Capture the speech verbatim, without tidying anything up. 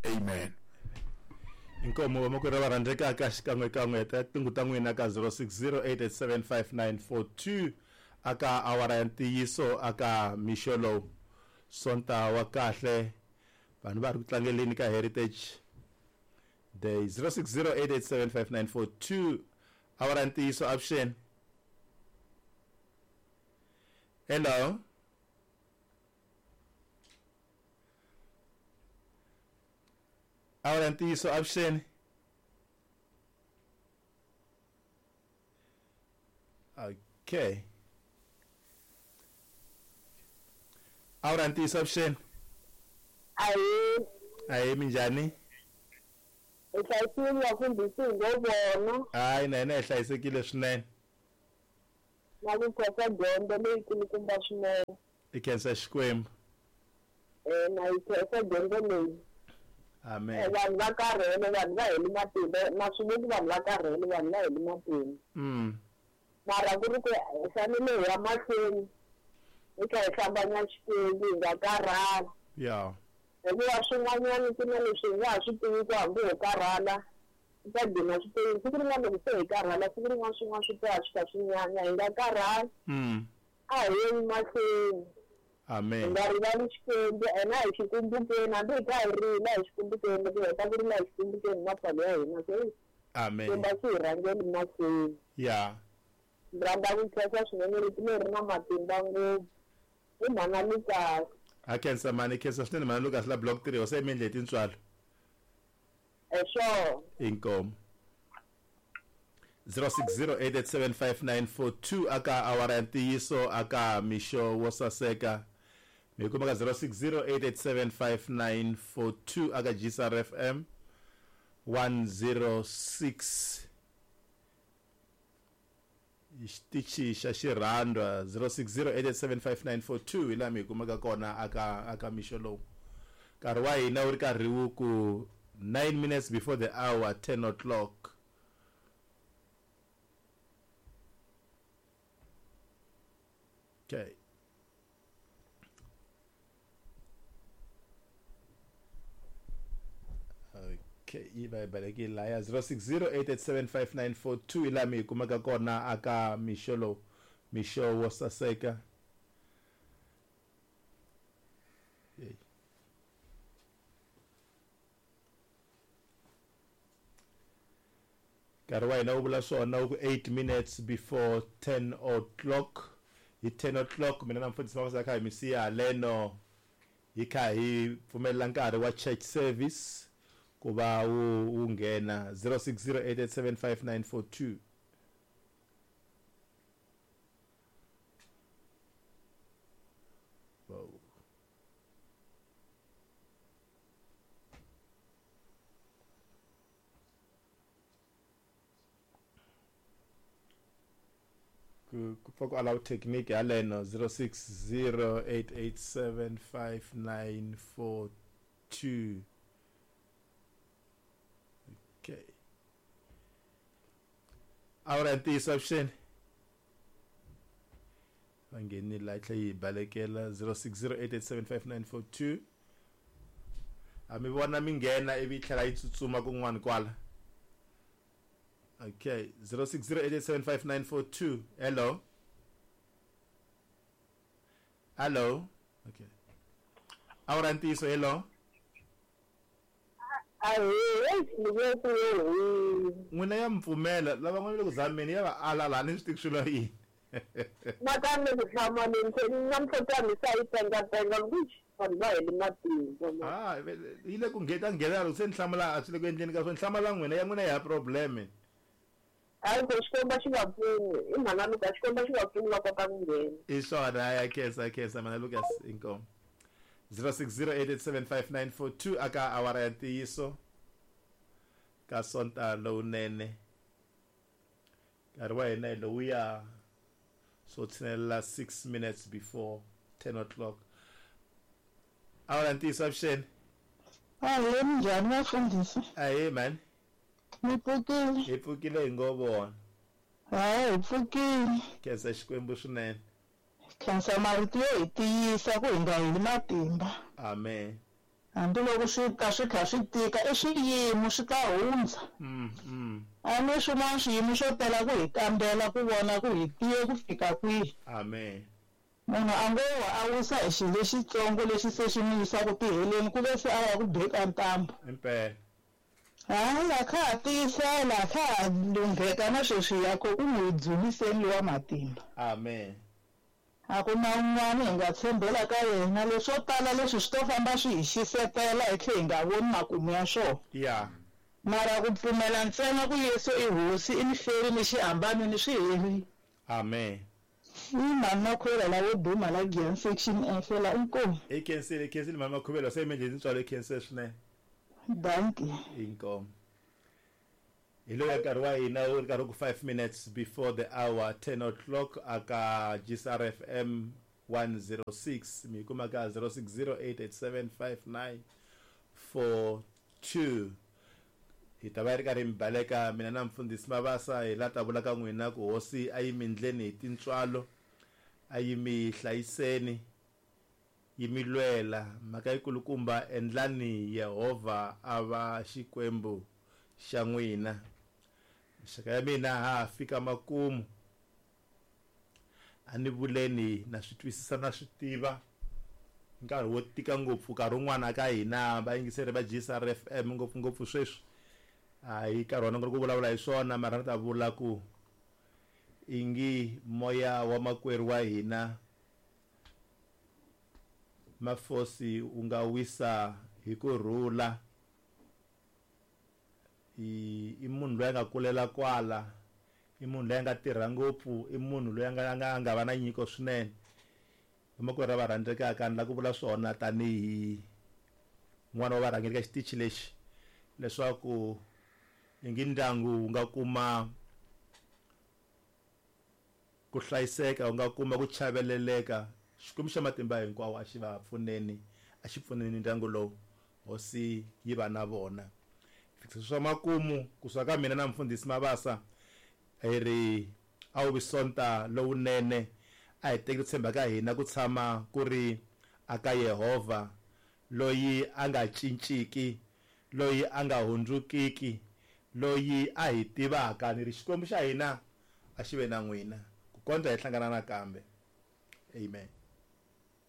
Amen. Inkomo vamakwerhu va rhandzekaka xikan'wekan'we ta tingu ta n'wina ka zero six zero eight eight seven five nine four two aka awara ya ntiyiso aka mixo lowu Sonta wa kahle vanhu va ri ku tlangeleni ka Heritage Day. Zero six zero eight eight seven five nine four two awara ya ntiyiso option. Hello. Awara ya ntiyiso option. Okay. Awara ya ntiyiso option. Ayi. Ayi minjhani? Hi hlayisekile vafundhisi hi ngo vona. Hayi na hina hi hlayisekile swinene. Na ku khensa dyondzo leyi kulukumba swinene. I khensa Xikwembu. Eh na yi khensa dyondzo leyi. Amen. Vanhu va karhele, vanhu va heli matimba, na swi voni vanhu va karhele, vanhu va heli matimba. Mm. Mara ku ri ku hi fanele hi ya mahlweni hi kha hi hlambanya Xikwembu hi nga karhali. Yeah. Hikuva swin'wanyana ku na leswi hi nga ha swi tivi ku hambi ho karhala swi ta gcina swi tele. Siku rin'wana loko se hi karhala, siku rin'wana swin'wana swi ta swi kha swi nyanya, hi nga karhali. Mm. A hi yeni mahlweni. Amen. Hi nga rivali Xikwembu, ena hi xi kumbukeni, hambi hi kha hi rila hi xi kumbukeni, loko hi heta ku rila hi xi kumbukeni mapfalo ya hina. Se Amen. Xikwembu a xi hi rhangeli mahlweni. Yeah. Ndzi rhandza ku khensa swinene rito leri na matimba ngopfu. I mhana Lucas. A khensa mani, khensa swinene mhana Lucas la block three, se mi endle tintswalo. Eh sure. Inkomo. zero six zero eight eight seven five nine four two aka awara ya ntiyiso aka mixo wo saseka. Mi kuma ka zero six zero eight eight seven five nine four two aka G S R F M one zero six. Xitichi xa xirhandwa zero six zero eight eight seven five nine four two hi laha mi hi kumaka kona aka aka mixo lowu. Nkarhi wa hina wu ri karhi wu ku nine minutes before the hour ten o'clock. Okay. Okay, yi va yi balekile laya zero six zero eight eight seven five nine four two hi laha mi hi kumaka kona aka mixo lowu, mixo wo saseka. Hey. Nkarhi wa hina wu vula swona wu ku eight minutes before ten o'clock. Hi ten o'clock mina na mfundhisi Mabasa kha hi mi siya haleno hi kha hi pfumelela nkarhi wa church service ku va wu wu nghena zero six zero eight eight seven five nine four two. Wow. Ku ku ku allow technique haleno zero six zero eight eight seven five nine four two. Okay. Awara ya ntiyiso avuxeni. Va nghenile la tlhe yi balekela zero six zero eight eight seven five nine four two. A mi vona mi nghena ivi yi tlhela yi tsutsuma kun'wana kwala. Okay, zero six zero eight eight seven five nine four two. Hello. Hello. Okay. Awara ntiyiso, hello. N'wina ya mpfumela lava n'wana le ku zameni ya va ala laha ni swi tivi swilo yini. Nakambe ku hlamaleni se namuntlha mi sa yi pengapenga vanhu va heli matimba. Ah, yi le ku ngheta nghena loko se ni hlamula a swi le ku endleni ka swona hlamala n'wina ya n'wina ya problem. Hayi ku Xikwembu xi va pfuni i mhana Lucas Xikwembu xi va pfuni va kota ku nghena. I swona ya khensa khensa mhana Lucas inkomo. zero six zero eight eight seven five nine four two aka awara ya ntiyiso ka Sonta lowunene. Nkarhi wa hina hi lowuya so tshinelela six minutes before ten o'clock. Awara ya ntiyiso avuxeni. Ahee, minjhani vafundhisi? Ahee mani. Mi pfukile? Hi pfukile hi ngo vona. Hayi hi pfukile. Khensa Xikwembu swinene. Khensa marito yo hi tiyisa ku hi nga heli matimba. Amen. Hambiloko swi ta swi kha swi tika i swiyimo swi ta hundza. Mm, mm. A ni swin'wana swiyimo swo tela ku hi kambela ku vona ku hi tiye ku fika kwihi. Amen. Munhu a ngo wa a wisa hi xilo lexitsongo lexi se xi n'wi yisaka tiheleni ku ve se a ya ku beka ntambu. Impela. Hayi a kha ha tiyisela a kha ha lungheka na sweswi ya ko ku n'wi dzuniseni lowa matimba. Amen. A ku na un'wana hi nga tshembela ka yena leswo tala leswi swi to famba swi hi xisetela hi tlhe hi nga voni makumu ya swona. Yeah. Mara ku pfumela ntsena ku Yesu i hosi i miferi ni xihambano ni swi herile. Amen. I mhani Makhuvela lavo duma la Giyani section F la inkomu. I khensile, i khensile mhani Makhuvela se mi endle tintswalo i khensile swinene. Dankie. Inkomu. Hi loyi nkarhi wa hina wu ri karhi ku five minutes before the hour ten o'clock aka G S R F M one zero six mi kuma ka zero six zero eight eight seven five nine four two. Hi ta va hi ri karhi mi baleka mina na mfundhisi Mabasa hi la ta vula ka n'wina ku hosi a yi mi ndleni hi tintswalo a yi mi hlayiseni yi mi lwela mhaka yikulukumba endlani Yehovha a va Xikwembu xa n'wina. Mixaka ya mina ha fika makumu a ni vuleni na swi twisisa na swi tiva nkarhi wo tika ngopfu nkarhi wun'wana ka hina vayingiseri va G S R F M ngopfungopfu sweswi a hi nkarhi wa nongonoko ku vulavula hi swona mara ni ta vula ku ingi moya wa makwerhu wa hina Mafosi wu nga wisa hi ku rhula. I i munhu loyi a nga kulela kwala i munhu loyi a nga tirha ngopfu i munhu loyi a nga a nga a nga va na nyiko swinene. Vamakwerhu lava rhandzekaka ni lava ku vula swona tanihi n'wana wa varhangeri ka xitichi lexi leswaku ingi ndyangu wu nga kuma ku hlayiseka wu nga kuma ku chaveleleka. Xikwembu xa matimba hinkwawo a xi va pfuneni a xi pfuneni ndyangu lowu hosi yi va na vona. Fikisa swa makumu kusuka ka mina na mfundhisi Mabasa hi ri a wu vi sonta lowunene a hi teki ku tshemba ka hina ku tshama ku ri aka Yehovha loyi a nga cinciki loyi a nga hundzukiki loyi a hi tivaka ni ri Xikwembu xa hina a xi ve na n'wina ku kondza hi hlangana nakambe. Amen.